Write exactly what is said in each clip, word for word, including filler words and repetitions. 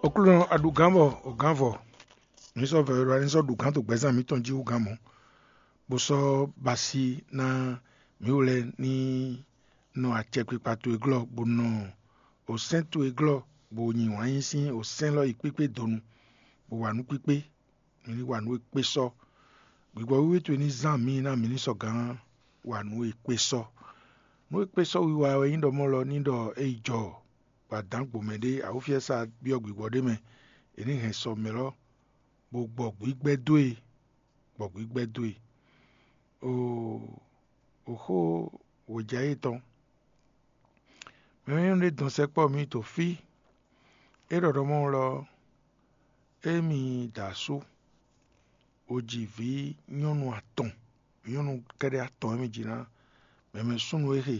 Oklúnɔ, a ɖu gǎn bɔ o gǎn vɔ. Mǐ sɔ́ vɛ̌ ɖɔ a ní sɔ́ ɖu gǎn dó gbɛzán mǐtɔn jí hú gǎn mɔ̌, bó sɔ́ ba asi ná mǐ wú lɛ́ɛ ní nɔ acɛkpikpa towe glɔ́, bó nɔ osɛ́n towe glɔ́, bó nyi wǎn yí sín osɛ́n élɔ́ yi kpíkpé donu, bó wa nǔ kpíkpé. Mǐ ní wa nǔ e kpé sɔ́. Gbigbɔ wíwí towe ní zán mǐ ná mǐ ní sɔgǎn wa nǔ e kpé sɔ́. Nǔ e kpé sɔ́ wiwa wɛ nyí ɖɔ mɔ̌ lɔ ní ɖɔ é yi jɔ bɔ adǎn gbomɛ ɖé awúfiɛ́sa byɔ́ gbigbɔ ɖé mɛ, è ní hɛn sɔ mɛ lɔ, bó gbɔ gbígbɛ́ dó e, gbɔ gbígbɛ́ dó e. Oo, oxó wějá yětɔn. Mɛ nyɔ́nu ɖé dɔn sɛkpɔ́ mǐ to fí. É ɖɔ ɖɔ mɔ̌ lɔ, émi da asú, o ji vǐ nyɔ́nu atɔn, vǐ nyɔ́nu kɛ́ɖɛ́ atɔn émi ji ná, mɛ mɛ súnnu é xe,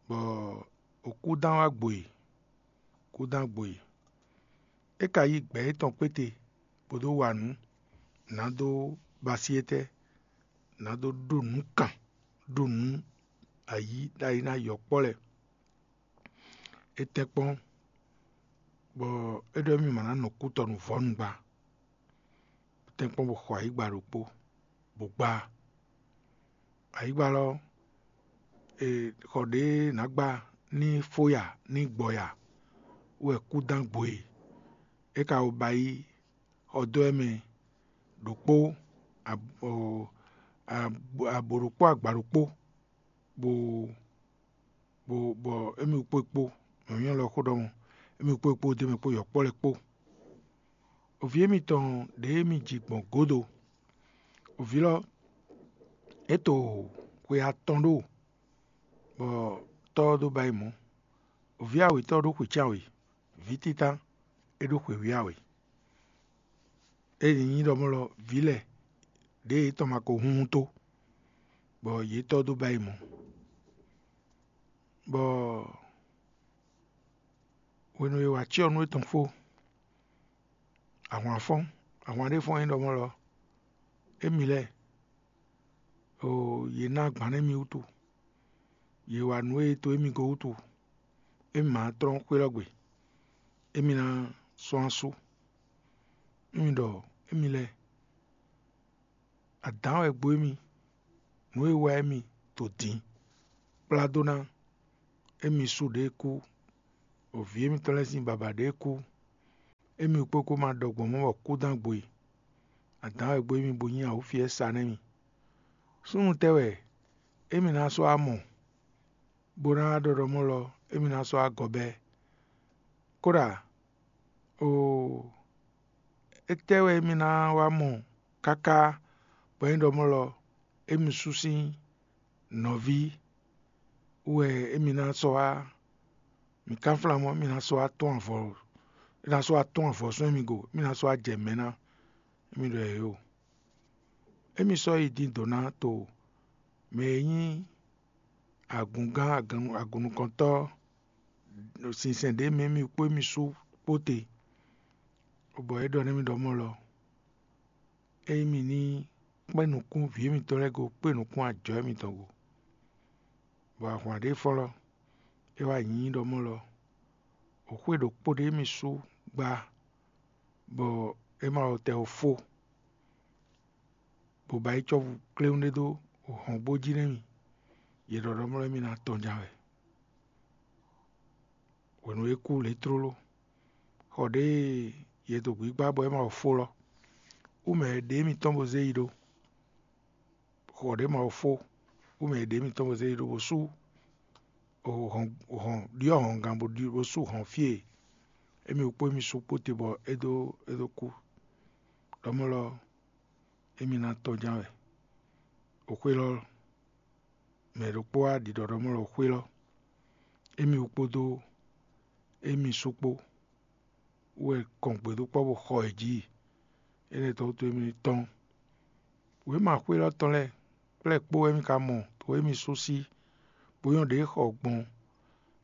bɔ o kúdán wá gbo e, kúdán gbo e. É ka yí gbɛ̌ étɔn kpéte, bó dó wa nǔ, nǎ dó basyɛ́tɛ́, nǎ dó ɖó nǔ kan, ɖó nǔ ayǐ ɖ'ayǐ ná yɔkpɔ́ lɛ́ɛ. É tɛ́nkpɔ́n, bɔ é ɖɔ émí ma ná nɔ kútɔnu vɔ̌nu gba. É tɛ́nkpɔ́n bó xɔ ayǐgba ɖokpó, bó gbá. Ayǐgba lɔ, è xɔ ɖě ná gbá ní fó ya ní gbɔ ya wɛ kúdán gbo e. É ka wo ba yí xɔ dó ɛ mɛ ɖokpó, abo ɖokpó, agba ɖokpó, bó bó bɔ émí kpó kpó, nyɔ̌nyɔ́ lɔ xó ɖɔ mɔ̌, émí kpó kpó d'é mɛ kpó yɔ̌kpɔ́ lɛ́ɛ kpó. Vǐ émítɔn ɖě émí ji gbɔn gǒdo. Vǐ lɔ, é to xwe atɔn ɖó, bɔ tɔ́ ɔ́ dó ba yi mɔ̌. Vǐ awětɔ́ ɖó xwe cán wě, vǐ títán é ɖó xwe wǐ awě. É nyí ɖɔ mɔ̌ lɔ vǐ lɛ́ɛ ɖěe yětɔn ma ko hunhun tó, bɔ yě tɔ́ dó ba yi mɔ̌. Bɔ hwenu e è wa cyɔ nú étɔn fó, ahwan fɔ́n, ahwan ɖé fɔ́n nyí ɖɔ mɔ̌ lɔ, émi lɛ́ɛ, oo, yě ná agban nú émí wútu; yě wa nǔ e to émí go wútu; émí ma tlɔ́n xwé lɔ gbe; émí ná sɔ́ asú. Émí ɖɔ émí lɛ́ɛ, adǎn wɛ gbo émí, nǔ e wa émí to din, kplá dó ná émí sú ɖě kú, o vǐ émítɔn lɛ́ɛ sín baba ɖě kú. Émí kpó kó ma ɖɔ gbɔn mɔ̌ bɔ kú dán gbo e. Adǎn wɛ gbo émí bo nyí awǔfiɛ́sa nɛ́ mi. Súnnu tɛ́ wɛ émí ná sɔ́ wá mɔ, bó ná wá ɖɔ ɖɔ mɔ̌ lɔ émí ná sɔ́ wá gɔ bɛ́? Kóɖa, oo, étɛ́ wɛ émí ná wá mɔ káká bɔ é nyí ɖɔ mɔ̌ lɔ émí sú sín nɔví wɛ émí ná sɔ́ wá? Mi kánflán mɔ̌, émí ná sɔ́ wá tɔ́n avɔ, é ná sɔ́ wá tɔ́n avɔ sɔ́ émí go, émí ná sɔ́ wá jɛ mɛ ná, émí ɖɔ yě o. Émí sɔ́ yi din dǒ ná to mɛ e nyí agungán agun- agunnukɔntɔ́ sinsɛn ɖě mɛ émí kpó émí sú kpó te, bɔ é ɖɔ nú émí ɖɔ mɔ̌ lɔ, ényí mi ní kpɛ́n nukún vǐ émítɔn lɛ́ɛ go, kpé nukún ajɔ émítɔn go, bɔ ahwan ɖě fɔ́n lɔ, é wá nyí ɖɔ mɔ̌ lɔ, xwé ɖokpó ɖé émí sú gbá, bɔ é ma wɔ tɛ ɔ́ fó, bó ba yi cɔ́fu kléwún ɖé dó hɔngbó jí nɛ́ mi, yě ɖɔ ɖɔ mlɔ́ émí ná tɔn ján wɛ. Hwenu e é kú lě tlóló, xɔ ɖě e yě dó gbígbá bɔ é ma wɔ fó lɔ, wú mɛ e ɖě émítɔn bó zé yi ɖó. Xɔ ɖě ma wɔ fó, wú mɛ e ɖě émítɔn bó zé yi ɖó bó sú hɔn hɔn ɖyɔ́ hɔngán bó ɖi bó sú hɔn fí e émí kpó émí sú kpó te bɔ é dó é dó kú. Ɖɔmɔ̌ lɔ, émí ná tɔ́n ján wɛ. Oxwé lɔ, mɛ ɖokpó wá ɖiɖɔ ɖɔmɔ̌ lɔ xwé lɔ, émí wú kpódó émí sú kpó wɛ kɔn gbědúkpɔ́ bó xɔ yě jí. Énɛ́ tɔn wútu émí ní tɔ́n. Wěma xwé lɔ tɔn lɛ́ɛ kplɛ́ kpó wɛ émí ka mɔ to émí sú sí, bó nyɔ́ ɖě xɔ gbɔn,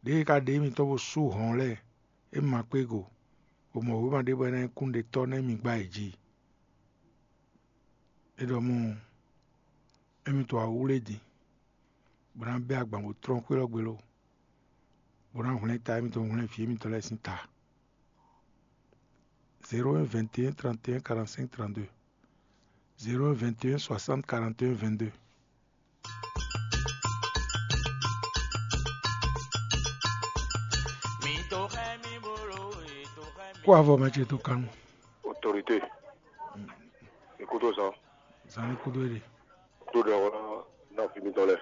ɖěe ka ɖe émítɔn bó sú hɔn lɛ́ɛ, émí ma kpé go, bó mɔ wěma ɖé bɔ é ná nyí kúnnuɖetɔ́ nú émí gbá yě jí. É ɖɔ mɔ̌, émí to awú lɛ́ɛ din, bó ná bɛ́ agban bó tlɔ́n xwé lɔ gbe lo, bó ná hwlɛ́n ta émítɔn hwlɛ́n vǐ émítɔn lɛ́ɛ sín ta. zéro un vingt et un trente et un quarante-cinq trente-deux. Zéro un vingt et un soixante quarante et un vingt-deux. Kó avɔ mɛ ce tó kánú. Autorité. Ikúdó zan. Zan ní kúdó èlé. Tó ɖe ɔ́ ná fi mitɔn lɛ.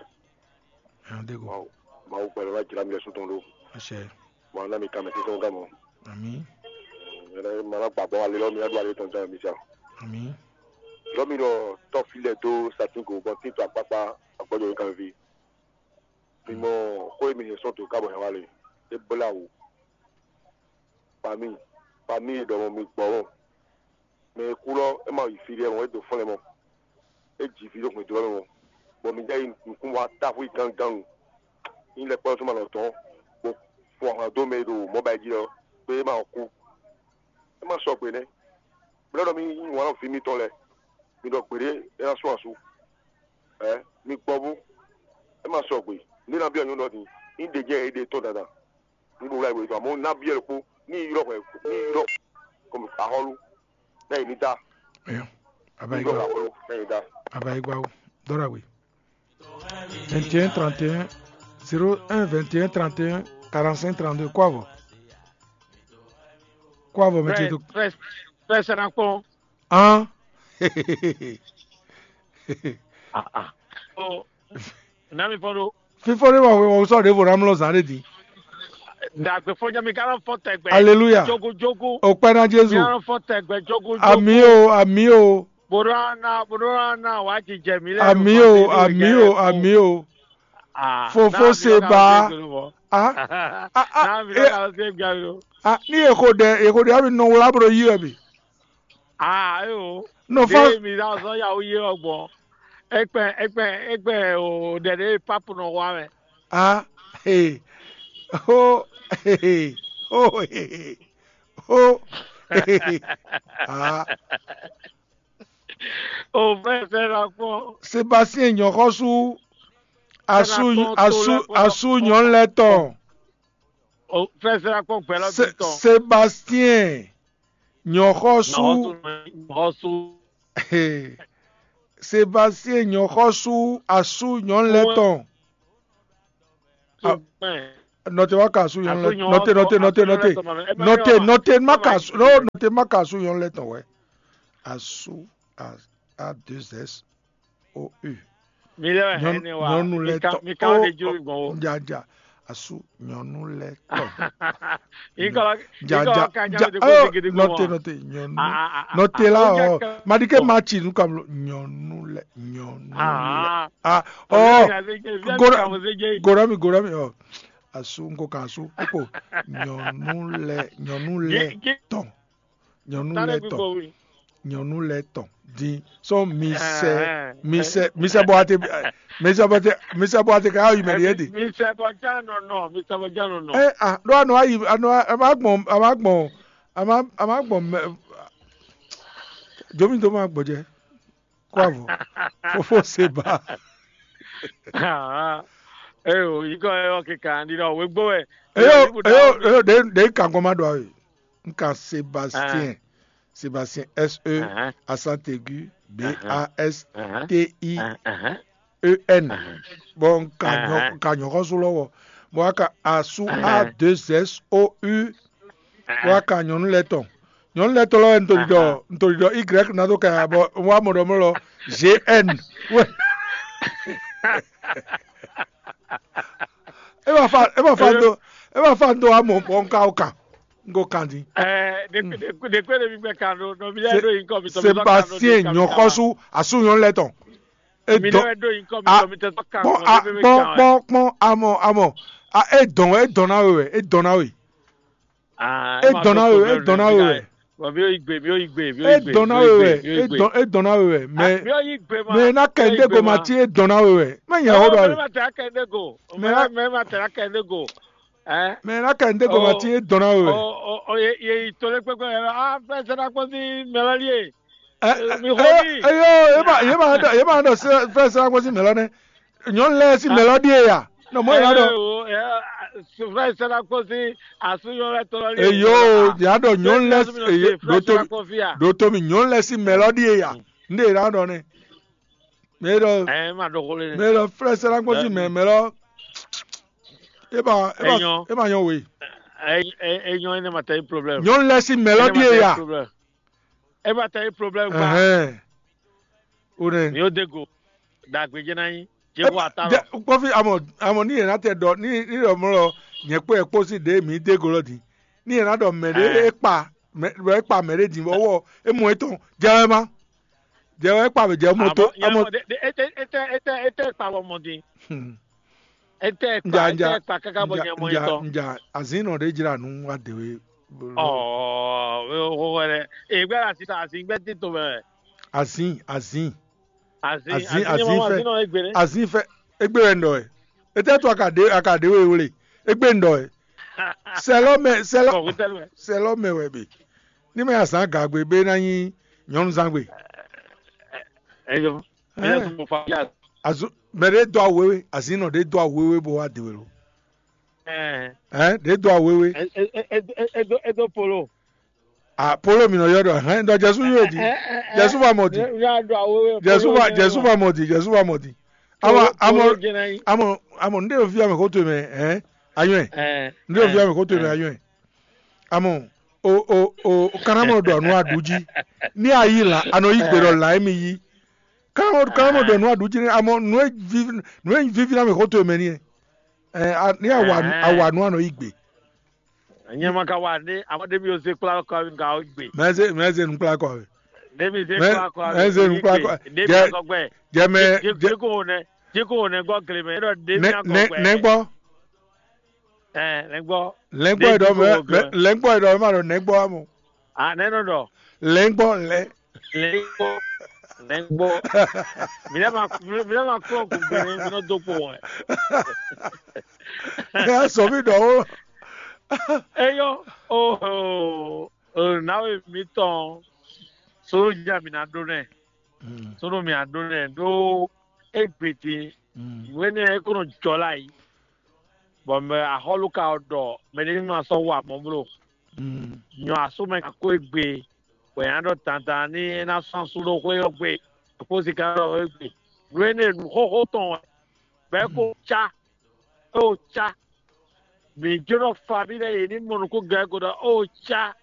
Ɛn dé go. Mawu gbɛlɛ wá jlá mi ɖɛsú tɔn ɖó. Ɛsɛ. Mawu ná mi ka mɛ títɔn ká mɔ. Ami. Ɛnɛ ma ná gbàgbọ́ alé lɔ mi ná ɖó alé tɔn ján mi sa. Ami. Lɔ mi ɖɔ tɔ́ fi lɛ dó satín go bɔ títɔ akpákpá agbɔjɔ yín kan ví. Mi mɔ xó e mi yɛ sɔn to ká bɔ hɛn wá le. É blá wǔ. Pami, pami e ɖɔ mɔ mi gbɔ mɔ. Mɛ e kú lɔ é ma yi fí ɖé mɔ, é dó fɔ́n lɛ mɔ. É ji vǐ ɖo hwɛndo ɔ́ mɛ mɔ, bɔ mi jɛ yi nukún wá táxwí gángan. Ní lɛ́ kpɔ́ nú ma nɔ tɔn, bó fɔ ahwan dó mɛ e ɖo mɔ̌ ba yi jí ɔ́, kpé é ma kú. É ma sɔgbe nɛ́. Blɛ́ ɖɔ mi yí wǎn nɔ vǐ mitɔn lɛ́ɛ, mi ɖɔ gbeɖé é ná sú asú. Ɛ mi gbɔ bú, é ma sɔgbe. Ní ná byɔ́ nyɔ̌nu ɔ́ din, ní ɖe jɛ é ɖe tɔn dandan. Ní ɖo wlá ìwé tɔn, amɔ̌ ná byɔ́ ɖokpó, ní yi ylɔ́ hwɛ, ní yi ylɔ́ kɔmi axɔ́lú, ná yi ní dá. Ayo, ní ylɔ́ abayigba, axɔ́lú, ná yi dá. Abayigba o, dɔ́ ɖagbe. Vingt et un trente et un zéro un vingt et un trente et un quarante-cinq trente-deux, kó avɔ. Kó avɔ mɛ ce Frère, tó. Frère, frère, c'est un con. Hán. Ah, ah. Oh, ná mi fɔ́n ɖó. Fífɔ́n ɖé wɔ wɔ sɔ́ ɖěvo ná mlɔ́ zǎn ɖé din. Dàgbé fɔ́n jẹ́ mi ká ló fɔ́n tɛgbẹ́. Aleluya. Jogo jogo. Òpẹ́ ná Jésù. Mi ká ló fɔ́n tɛgbẹ́ jogo jogo. Àmì o, àmì o. Bòdó àná, bòdó àná wàá jijɛ mi lẹ́nu. Àmì o, àmì o, àmì o. Ah, fofó se ba. Ah, ah, ah, ah, ní èkó dɛ èkó dɛ àbí nɔ wúlá bro yí wɛ bi. Ah, ayo. Nɔ fa. Ɖe mi la zɔn ya wo yé ɔgbɔn. Ekpɛ ekpɛ ekpɛ o ɖɛɖɛ papu nɔ wa mɛ. Ah, hey. Oh, hey, oh, hey, oh, hey. Ah. O fẹ́ fẹ́ la kpɔn. Sébastien nyɔ̌xɔ́sú asú asú asú nyɔ̌nu lɛ́ɛ tɔn. O fẹ́ fẹ́ la kpɔn gbɛ̌ lɔ bǐ tɔn. Sébastien nyɔ̌xɔ́sú. Nyɔ̌xɔ́sú. Sébastien nyɔ̌xɔ́sú asú nyɔ̌nu lɛ́ɛ tɔn. Nɔte wá ka asú nyɔ̌nu lɛ́ɛ tɔn. Nɔte nɔte nɔte nɔte nɔte nɔte má ka asú nɔte má ka asú nyɔ̌nu lɛ́ɛ tɔn wɛ. Asú a deux s o u. Mi lɛ wɛ hɛn ne wa. Nyɔnu lɛ tɔn. Mi kan de jo gbɔn wo. Jaja asú nyɔnu lɛ tɔn. Ikɔ ikɔ kan ja de ko de gidi gbɔn. Nɔte nɔte nyɔnu. Nɔte la ɔ madike ma tsi nu kam lo nyɔnu lɛ nyɔnu lɛ. Ah ɔ. Gorami gorami ɔ. Asú nko kan asú kpokpo nyɔnu lɛ nyɔnu lɛ tɔn. Nyɔnu lɛ tɔn. Nyɔnu lɛ tɔn din sɔn mi sɛ mi sɛ mi sɛ bɔ ate mi sɛ bɔ ate mi sɛ bɔ ate ka yi mɛ de yɛ de. Mi sɛ bɔ ja nɔ nɔ mi sɛ bɔ ja nɔ nɔ. Ɛ a ɖo anɔ ayi anɔ a ma gbɔn a ma gbɔn a ma a ma gbɔn mɛ. Jomi to ma gbɔjɛ kó avɔ fofo se ba. Eyo yikɔ yɔ kika ndi dɔ wegbo wɛ. Eyo eyo eyo de de kan kɔma do ayi. Nka Sébastien. Sébastien, S E, accent aigu, B A S T I E N. Bon, nka nyɔxɔsu lɔwɔ. Bon, aka asu A deux S O U. Bon, aka nyɔnu lɛ tɔn. Nyɔnu lɛ tɔn lɔ ntoli dɔ ntoli dɔ Y na do ka bɔ wa mɔ dɔ mɔ lɔ G N. E ma fa e ma fa do e ma fa do amɔ bɔ nka o kan. Ngo kandi. Ɛɛ ɖekpe ɖekpe ɖekpe ɖe mi gbɛ kan ɖo nɔ mi lɛ ɖo yi kɔ mi tɔ mi tɔ kan ɖo Sébastien nyɔxɔsu asu nyɔnu lɛ tɔn. E mi dɔn lɛ ɖo yi kɔ mi a tɔ mi tɔ kan kpɔn kɔ a mi mi kpɔn kan wɛ. Kpɔn kpɔn amɔ amɔ a e dɔn e dɔn na we wɛ e dɔn na we. Ah, e dɔn na we e dɔn na we wɛ. Bɔn mi yóò yi gbe mi yóò yi gbe mi yóò yi gbe. E dɔn na we wɛ e dɔn e dɔn na we wɛ mɛ mi yóò yi gbe ma mɛ na kɛ ndé go ma ti e dɔn na we wɛ mɛ nyɛ ho dɔ mɛ ma tẹ akɛ ndé go mɛ ma tẹ akɛ ndé go. Mɛ na kɛ ndé go ma ti e dɔn na we wɛ. Ye yi to lé kpékpé yɛ ah fɛn sɛ na kpɔn sí mɛlɛli ye. Mi xɔ mi. Eyo ye ma ye ma dɔ ye ma dɔ fɛn sɛ na kpɔn sí mɛlɛ nɛ nyɔnu lɛ sí mɛlɛ di ye ya. Nɔ mɔ yɛ ɖɔ. Suflɛ sɛlɛ kpɔsi asúnyɔ lɛ tɔlɔ li. Eyo, yà ɖɔ nyɔnu lɛ. Eyo, ɖo to mi, ɖo to mi nyɔnu lɛ si mɛ lɔ ɖi eya. Nde yɛ ɖɔ nɛ. Mɛ ɖɔ. Ɛ ma ɖɔ xo le. Mɛ ɖɔ flɛ sɛlɛ kpɔsi mɛ mɛ lɔ. E ba e ba e ma nyɔ we. Ɛ ɛ ɛ nyɔ ene ma tɛ yi problème. Nyɔnu lɛ si mɛ lɔ ɖi eya. Ɛ ma tɛ yi problème gba. Ɛhɛn. O nɛ. Mi o de go. Dagbe jɛ na yi. Jɛ ko ata lɔ. Kpɔfi amɔ amɔ ní yẹn ná tɛ ɖɔ ní ní ɖɔ mɔ lɔ nyɛ kpó yɛ kpó sí ɖě mǐ dé go lɔ din. Ní yẹn ná ɖɔ mɛ ɖé é kpa mɛ é kpa mɛ ɖé din bɔ wɔ é mɔ étɔn jɛ wɛ má. Jɛ wɛ é kpa mɛ jɛ mɔ tó amɔ. Etɛ etɛ etɛ etɛ kpa bɔ mɔ din. Etɛ kpa etɛ kpa kaka bɔ nyɛ mɔ étɔn. Nja azin nɔ ɖé jra nú wa de we. Ɔ o o wɛ dɛ. Egbe la sisan azin gbɛ ti to mɛ. Azin azin. Azin azin azin fɛ azin fɛ egbe wɛ ndɔ ɛ. Etɛ to aka de aka de we wle egbe ndɔ ɛ. Sɛlɔ mɛ sɛlɔ sɛlɔ mɛ wɛ be. Ní mɛ azan gagbe be na nyi nyɔnu zangbe. Ɛyɔ. Ɛyɔ tó mo fa ya. Azu mɛ ɖe dɔ awu wewe azin nɔ ɖe dɔ awu wewe bo wa de we lo. Ɛɛ. Ɛ ɖe dɔ awu wewe. Edo polo. A polo mi nɔ yɔ ɖɔ hɛn ɖɔ jɛsu yóò di. Jɛsu va mɔ di. Jɛsu va jɛsu va mɔ di jɛsu va mɔ di. Ama ama ama ama nde fi ame ko to mɛ hɛn ayɔn ɛ. Nde fi ame ko to mɛ ayɔn ɛ. Amɔ o o o kanamɔ ɖɔ nu aɖu jí. Ní ayi la anɔ yi gbe ɖɔ la emi yi. Kanamɔ kanamɔ ɖɔ nu aɖu jí amɔ nu e vivi nu e vivi na mɛ ko to mɛ ni ɛ. Ní awa awa nu anɔ yi gbe. Nyɛ ma ka wa ne ama ɖe mi o se kpla kɔ mi ka o gbe. Mɛ se mɛ se nu kpla kɔ mi. Ɖe mi se kpla kɔ mi. Mɛ se nu kpla kɔ. Ɖe mi akɔ gbɛ. Jɛmɛ jiko ne jiko ne gbɔ gele mɛ ɖɔ ɖe mi akɔ gbɛ. Nɛ gbɔ. Ɛ lɛ gbɔ. Lɛ gbɔ yi ɖɔ mɛ lɛ gbɔ yi ɖɔ mɛ ma ɖɔ nɛ gbɔ amɔ. A nɛ nɔ ɖɔ. Lɛ gbɔ lɛ. Lɛ gbɔ lɛ gbɔ. Mi lɛ ma mi lɛ ma kplɔn gbogbo ne mi nɔ do kpo wɛ. Ɛ sɔ mi ɖɔ wo. Eyɔ oho nawe mitɔn soro dza mi na ɖo nɛ soro mi a ɖo nɛ ɖo egbe din nǔ énɛ́ é ko nɔ jɔ lɛ ayǐ bɔ mɛ axɔ́lú ka ɖɔ mɛ ɖé ma sɔ́ wa mɔ̌ bló nyɔ asú mɛ ka kó egbe bɔ yě ná ɖɔ dandan ní é ná sɔ́ asú ɖó xwé ɔ́ gbe kó sika ɖɔ egbe nǔ énɛ́ nǔ xóxó tɔn wɛ bɔ é ko cá é ko cá mǐ jló ná fa mì lɛ́ɛ yě ní mɔ nukúnglɛ́ ko ɖɔ ó cá